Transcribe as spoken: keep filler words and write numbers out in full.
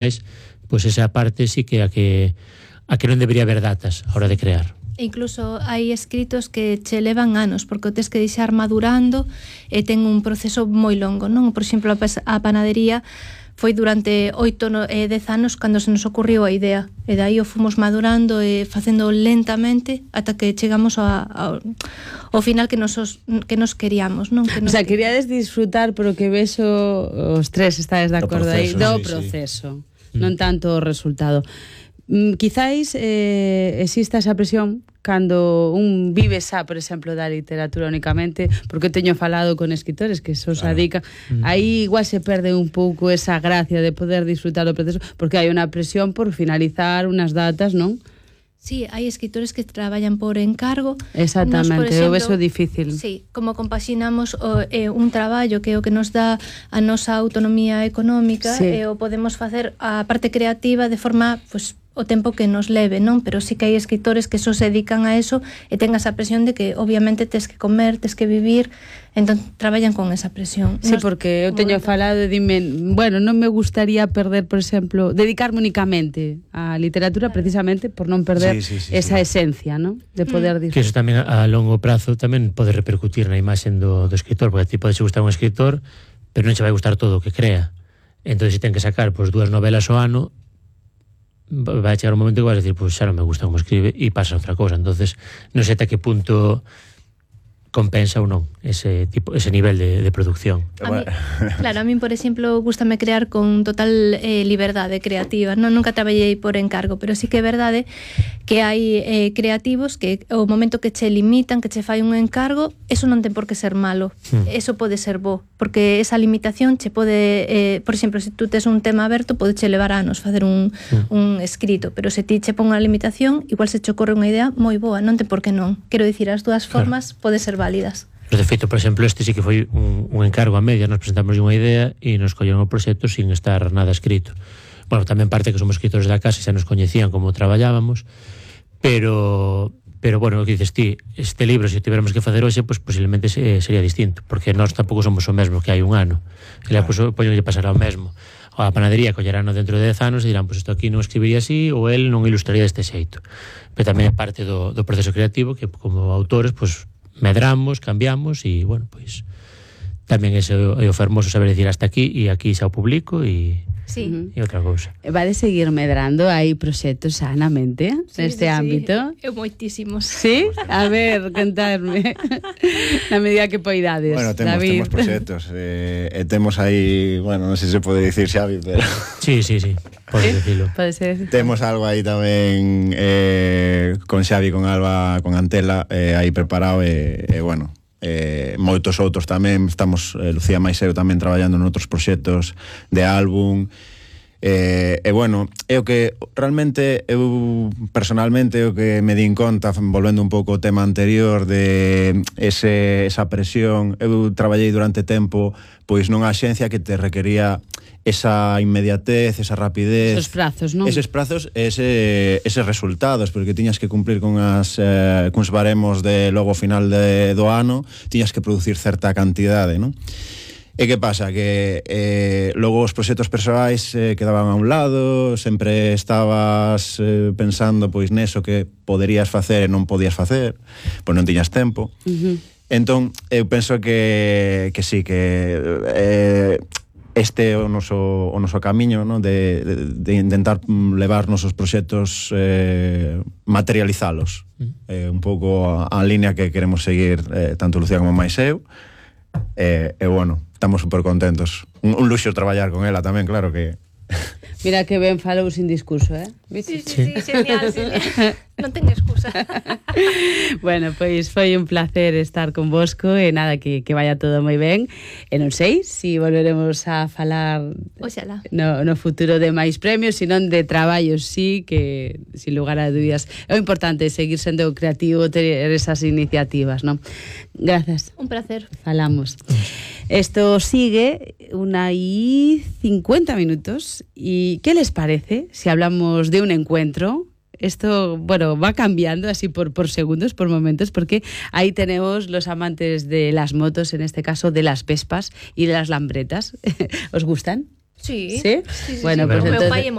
pois esa parte sí que a que a que non debería haber datas a hora de crear. E incluso hai escritos que che levan anos, porque o tes que deixar madurando e ten un proceso moi longo, non? Por exemplo, a panadería foi durante oito e dez anos cando se nos ocurriu a idea, e dai o fomos madurando e facendo lentamente ata que chegamos a, a, ao final que nos, que nos queríamos, non? Que nos o sea, queríades disfrutar, pero que vexo os tres estades de acordo aí, do sí, proceso, sí. non tanto o resultado. Mm, quizáis eh, exista esa presión cando un vive xa, por exemplo, da literatura únicamente, porque teño falado con escritores que eso se dedican, mm. aí igual se perde un pouco esa gracia de poder disfrutar o proceso, porque hai unha presión por finalizar unas datas, non? Sí, hai escritores que traballan por encargo. Exactamente, nos, por exemplo, o beso difícil. Sí, como compaxinamos o, eh, un traballo que é o que nos dá a nosa autonomía económica, sí. e o podemos facer a parte creativa de forma, pues, o tempo que nos leve, non? Pero sí que hai escritores que só se dedican a eso e ten esa presión de que obviamente tes que comer, tes que vivir, entón traballan con esa presión. Sí, nos, porque eu teño falado e dime, bueno, non me gustaría perder, por exemplo, dedicarme únicamente á literatura, claro, precisamente por non perder sí, sí, sí, esa sí. esencia, ¿no? De poder disfrutar. Que eso tamén a longo prazo tamén pode repercutir na imaxe do, do escritor, porque a ti pode gustar un escritor, pero non se vai gustar todo o que crea. Entón, se ten que sacar pois, dúas novelas ao ano, vai chegar un momento que vas a decir, pois xa non me gusta como escribe, e pasa outra cosa. Entonces non sei ata que punto compensa ou non ese tipo, ese nivel de, de producción. A mí, claro, a mí, por exemplo, gústame crear con total eh, liberdade creativa. Non, nunca traballei por encargo, pero sí que é verdade que hai eh, creativos que o momento que che limitan, que che fai un encargo, eso non ten por que ser malo. Hmm. Eso pode ser bo, porque esa limitación che pode, eh, por exemplo, se tú tes un tema aberto, pode che levar anos facer un, hmm. un escrito, pero se ti che pon unha limitación, igual se che ocorre unha idea moi boa, non ten por que non. Quero dicir, as dúas formas claro. Pode ser válidas. Pero de feito, por exemplo, este sí que foi un, un encargo a media, nos presentamos unha idea e nos colleron o proxecto sin estar nada escrito. Bueno, tamén parte que somos escritores da casa e xa nos coñecían como traballábamos, pero pero bueno, o que dices ti, este libro, se o tiveramos que facer hoxe, pues posiblemente se, sería distinto, porque nós tampouco somos o mesmo que hai un ano. E lá, pues, poño lle pasará o mesmo. A panadería collerano dentro de dez anos e dirán, pues isto aquí non escribiría así, ou el non ilustraría deste xeito. Pero tamén é parte do, do proceso creativo que como autores, pues medramos, cambiamos e, bueno, pois tamén é o fermoso saber decir hasta aquí e aquí xa o publico e sí. e outra cousa. Vai de seguir medrando, hai proxectos sanamente sí, neste sí, ámbito? Sí, eu moitísimos. Sí? A ver, contarme na medida que poidades. Bueno, temos, David. temos proxectos eh, e temos aí, bueno, non sei se pode dicir Xavi, pero sí, sí, sí. Pode decirlo. Pode ser. Temos algo aí tamén eh, con Xavi, con Alba, con Antela eh, aí preparado e, e bueno, eh, moitos outros tamén. Estamos, eh, Lucía máis eu tamén traballando noutros proxectos de álbum. E, e bueno, é o que realmente eu personalmente é o que me din conta, volvendo un pouco ao tema anterior de ese, esa presión. Eu traballei durante tempo pois nunha axencia que te requería esa inmediatez, esa rapidez, esos prazos, non? Eses prazos, ese, eses resultados, porque tiñas que cumplir con as eh, cuns baremos de logo final de, do ano, tiñas que producir certa cantidade, non? E que pasa? Que eh, logo os proxectos persoais eh, quedaban a un lado, sempre estabas eh, pensando pois neso que poderías facer e non podías facer, pois non tiñas tempo. Uh-huh. Entón, eu penso que, que sí, que eh, este é o noso, o noso camiño, ¿no? de, de, de intentar levar nosos proxectos, eh, materializalos. Uh-huh. Eh, un pouco a, a línea que queremos seguir eh, tanto Lucía como máis eu. E, e bueno, estamos super contentos. Un, un luxo traballar con ela tamén, claro que... Mira que ben falou sin discurso, eh? Sí, sí, sí, genial, genial. Non ten excusa. Bueno, pois foi un placer estar convosco e nada, que, que vaya todo moi ben. E non sei se si volveremos a falar Oxalá. No, no futuro de máis premios, senón de traballos, sí, que sin lugar a dúbidas é o importante seguir sendo creativo, ter esas iniciativas, non? Gracias. Un placer. Falamos. Esto sigue una y cincuenta minutos. ¿Y qué les parece si hablamos de un encuentro? Esto, bueno, va cambiando así por, por segundos, por momentos, porque ahí tenemos los amantes de las motos, en este caso de las Vespas y de las Lambretas. ¿Os gustan? Sí, sí? sí, sí, Bueno, sí, pues pero o meu entonces... pai é